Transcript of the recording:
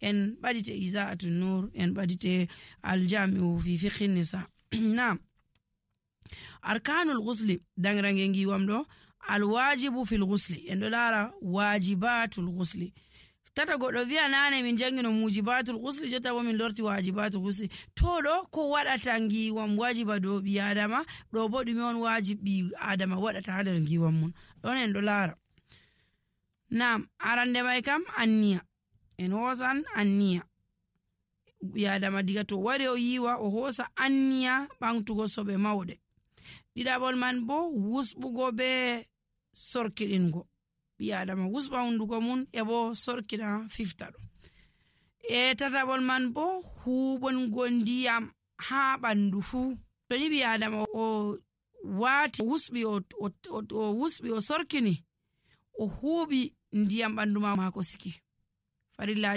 en ɓadite Iza'atun Nur en ɓadite Aljami'u fi fiqhin nisa. Naam. Arkanul ghusli dangrange ngiwam ɗo alwajibu fil ghusli en ɗo lara wajibatul ghusli. Tata goɗɗo wi'a nane min jangino mujibatul ghusli jotta bo min lorti wajibatul ghusli. To ɗo ko waɗata ngiwam wajiba dow ɓi adama ɗo bo ɗume on wajibi adama waɗata ha nder ngiwam mun ɗon en ɗo lara. Naam, arande mai kam anniya en hosan anniya ɓi adama diga to wari o yiwa o hosa anniya ɓamtugo soɓe mauɗe. Ɗiɗaɓol man bo wusɓugo be sorkiɗingo ɓi adama wusɓa hunduko mun e bo sorkiɗa fifta ɗo. Tataɓol man bo huɓongo ndiyam ha ɓandu fuu. To ni ɓi adama o wati wusɓi o sorkini o huɓi ndiyam ɓandu mako siki farillaji